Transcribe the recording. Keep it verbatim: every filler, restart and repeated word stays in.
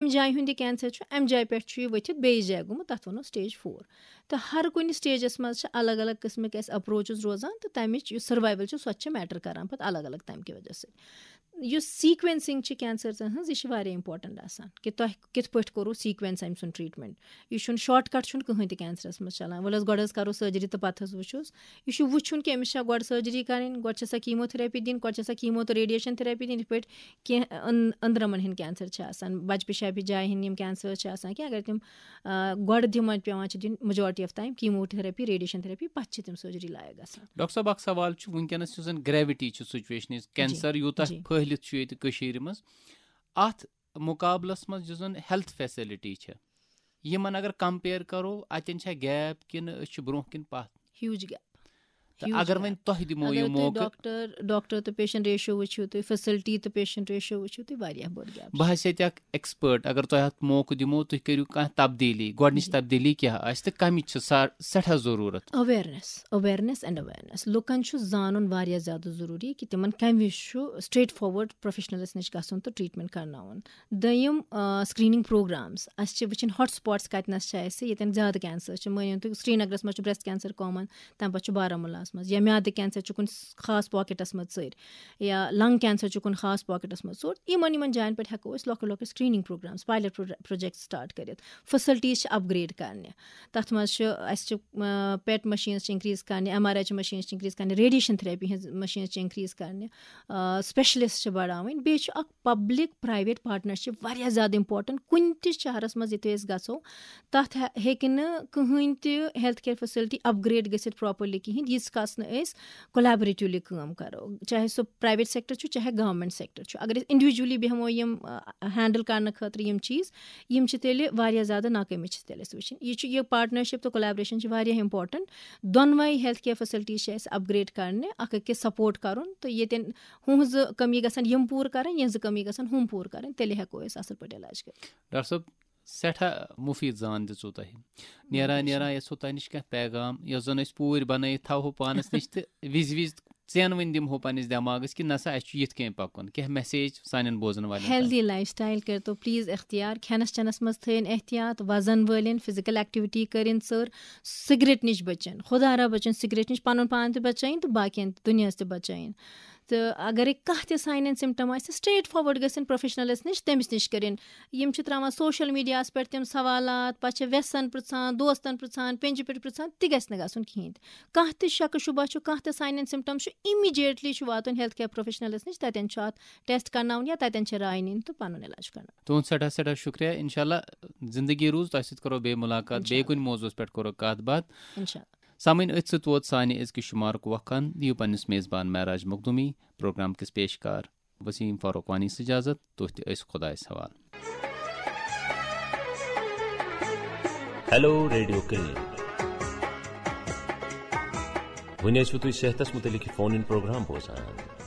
امہِ جایہِ ہُنٛد یہِ کینسر چھُ، امہِ جایہِ پٮ۪ٹھ چھُ یہِ ؤتھِتھ بیٚیِس جایہِ گوٚمُت، تَتھ وَنو سٹیج فور۔ تہٕ ہر کُنہِ سٹیجَس منٛز چھِ الگ الگ قٕسمٕکۍ اَسہِ اپروچز روزان، تہٕ تَمِچ یُس سروایول چھُ، سۄ تہِ چھِ میٹر کران پَتہٕ الگ الگ تَمہِ کہِ وجہ سۭتۍ۔ یُس سیکوینسنگ چھِ کینسرزَن ہٕنٛز، یہِ چھِ واریاہ امپورٹنٹ آسان کہِ تۄہہِ کِتھ پٲٹھۍ کوٚروٕ سیکوینس أمۍ سُنٛد ٹریٹمنٹ۔ یہِ چھُنہٕ شارٹ کٹ چھُنہٕ کٕہٕنۍ تہِ کینسرس منٛز چلان۔ وَلہٕ حظ، گۄڈٕ حظ کرو سرجری تہٕ پَتہٕ حظ وٕچھوس۔ یہِ چھُ وٕچھُن کہِ أمِس چھا گۄڈٕ سرجری کرٕنۍ، گۄڈٕ چھِ سا کیمو تھراپی دِنۍ، گۄڈٕ چھِ سا کیمو تہٕ ریڈیشن تھراپی دِنۍ۔ یِتھ پٲٹھۍ کینٛہہ أن-، أنٛدرمن ہٕنٛدۍ کینسر چھِ آسان، بچہٕ پِشابہِ جایہِ ہٕنٛدۍ یِم کینسر چھِ آسان، کہِ اگر تِم آ، گۄڈٕ دِمن پٮ۪وان چھِ دِنۍ majority of time chemotherapy، radiation therapy، پتہٕ چھِ تِم سرجری لایق گژھان۔ ڈاکٹر صٲب، اکھ سوال چھُ، وٕنکیٚنس یُس زن گریوٹی چھِ سچویشنٕچ، کینسر یوٗتاہ جی۔ پھٔہلِتھ چھُ ییٚتہِ کٔشیٖرِ منٛز، اتھ مُقابلس منٛز یُس زن ہیلتھ فیسلٹی چھِ، یِمن اگر کمپیئر کرو، اتٮ۪ن چھا گیپ کِنہٕ أسۍ چھِ برونٛہہ کِنۍ پتھ؟ Huge gap. تہٕ اگر وۄنۍ تۄہہِ دِمو اگر یہِ تُہۍ موقعہٕ۔ ڈاکٹر، ڈاکٹر تہٕ پیشنٹ ریشو وٕچھِو تُہۍ، فیسلٹی تہٕ پیشنٹ ریشو وٕچھِو تُہۍ، واریاہ بوٚڑ گیپ۔ بہٕ ہسا تہِ اکھ ایکسپٲرٹ، اگر تۄہہِ اتھ موقعہٕ دِمو، تُہۍ کٔرِو کانٛہہ تبدیٖلی، گۄڈٕنِچ جی۔ تبدیٖلی کیٛاہ آسہِ تہٕ کمِچ چھِ سا-، سٮ۪ٹھاہ ضروٗرت؟ Awareness، awareness and awareness۔ لُکن چھُ زانُن واریاہ زیادٕ ضروٗری کہِ تِمن کمہِ وِزِ چھُ straight forward پروفیشنلس نِش گژھُن تہٕ ٹریٹمنٹ کرناوُن۔ دوٚیِم، آ، screening programs۔ اَسہِ چھِ وٕچھِنۍ ہاٹ سپاٹس کَتِنَس چھِ اَسہِ، ییٚتٮ۪ن زیادٕ کینسر چھِ۔ مٲنِو تُہۍ، سرینگرَس منٛز چھُ breast cancer common، تَمہِ پَتہٕ چھُ بارہمولاہَس منٛز، یا میادٕ کینسر چھُ کُنہِ خاص پاکیٹَس منٛز ژٔرۍ، یا lung cancer چھُ کُنہِ خاص پاکیٹَس منٛز ژوٚر۔ یِمَن، یِمَن جایَن پٮ۪ٹھ ہٮ۪کو أسۍ لۄکٕٹۍ لۄکٕٹۍ screening programs، pilot projects start کٔرِتھ۔ facilities چھِ upgrade کَرنہِ۔ تَتھ منٛز چھِ اَسہِ چھِ، آ، PET machines چھِ increase کَرنہِ، M R I چھِ machines چھِ increase کَرنہِ، radiation therapy ہِنٛز machines چھِ increase کَرنہِ، آ، specialist چھِ بڑاوٕنۍ۔ بیٚیہِ چھُ اکھ public private partnership واریاہ زیادٕ important۔ کُنہِ تہِ شہرس منٛز یِتھُے أسۍ گژھو، تتھ ہہ-، ہیٚکہِ نہٕ کٕہٕنۍ تہِ health care facility upgrade گٔژھِتھ properly کِہیٖنۍ، ییٖتِس کالس نہٕ أسۍ collaboratively کٲم کرو، چاہے سُہ private sector چھُ، چاہے government sector چھُ۔ اگر أسۍ individually بیٚہمو یِم، آ، handle کرنہٕ خٲطرٕ یِم چیٖز، یِم چھِ تیٚلہِ واریاہ زیادٕ ناکٲمی چھِ تیٚلہِ اَسہِ وٕچھِنۍ۔ یہِ چھُ، یہِ partnership تہٕ collaboration چھِ واریاہ important۔ دۄنوَے health care facilities چھِ اَسہِ upgrade کرنہِ، اکھ أکِس support کرُن، تہٕ ییٚتٮ۪ن ہُہنٛز کٔمی گژھن یِم پوٗرٕ کرٕنۍ، یِہنٛز کٔمی گژھن ہُم پوٗرٕ کرٕنۍ، تیٚلہِ ہٮ۪کو أسۍ اَصٕل پٲٹھۍ علاج کٔرِتھ۔ ڈاکٹر صٲب، سٮ۪ٹھاہ مُفیٖد زان دِژوٕ تۄہہِ۔ نیران نیران یَژھو تۄہہِ نِش کینٛہہ پیغام، یۄس زَن أسۍ پوٗرۍ بَنٲیِتھ تھاوہو پانَس نِش تہٕ وِزِ وِزِ ژینوٕنۍ دِمہو پنٛنِس دٮ۪ماغَس کہِ نہ سا، اَسہِ چھُ یِتھ کٔنۍ پَکُن۔ کینٛہہ message سانٮ۪ن بوزَن والٮ۪ن تام۔ Healthy lifestyle کٔرۍتو please اختیار، کھٮ۪نَس چٮ۪نَس منٛز تھٲیِن احتیاط، وزن وٲلِن، physical activity کٔرِن ژٔر، سگریٹ نِش بٔچِن، خۄدا را بٔچِن سگریٹ نِش، پَنُن پان تہِ بَچٲیِن تہٕ باقیَن تہِ دُنیاہَس تہِ بَچٲیِن۔ تہٕ اگرے کانٛہہ تہِ sign and symptom آسہِ، straight forward گژھن professionalس نِش، تٔمِس نِش کٔرِن۔ یِم چھِ ترٛاوان social mediaہس پٮ۪ٹھ تِم سوالات، پتہٕ چھِ وٮ۪سن پرٛژھان، دوستن پرٛژھان، پیٚنجہِ پٮ۪ٹھ پرٛژھان، تہِ گژھِ نہٕ گژھُن کِہیٖنۍ تہِ۔ کانٛہہ تہِ شکہٕ شُبہ چھُ، کانٛہہ تہِ sign and symptom چھُ، immediately چھُ واتُن health care professionalس نِش، تَتٮ۪ن چھُ اَتھ test کرناوُن یا تَتٮ۪ن چھِ راے نِنۍ تہٕ پَنُن علاج کرناوُن۔ تُہُنٛد سٮ۪ٹھاہ سٮ۪ٹھاہ شُکریہ۔ انشاءاللہ زندگی روٗز، تۄہہِ سۭتۍ کرو بیٚیہِ مُلاقات، بیٚیہِ کُنہِ موضوعس پٮ۪ٹھ کرو کتھ باتھ۔ انشاءاللہ۔ سامعین، أتھۍ سۭتۍ ووت سانہِ أزکہِ شُمارُک وقت ہن۔ دِیِو پننِس میزبان معراج مخدوٗمی پروگرام کِس پیشکار وسیٖم فاروق وانی اجازت۔ تُہۍ تہِ ٲسِو خۄدایس حوالہٕ۔ Hello radio clinic. وۄنۍ ٲسِو تُہۍ صحتس مُتعلق یہِ فون اِن پروگرام بوزان۔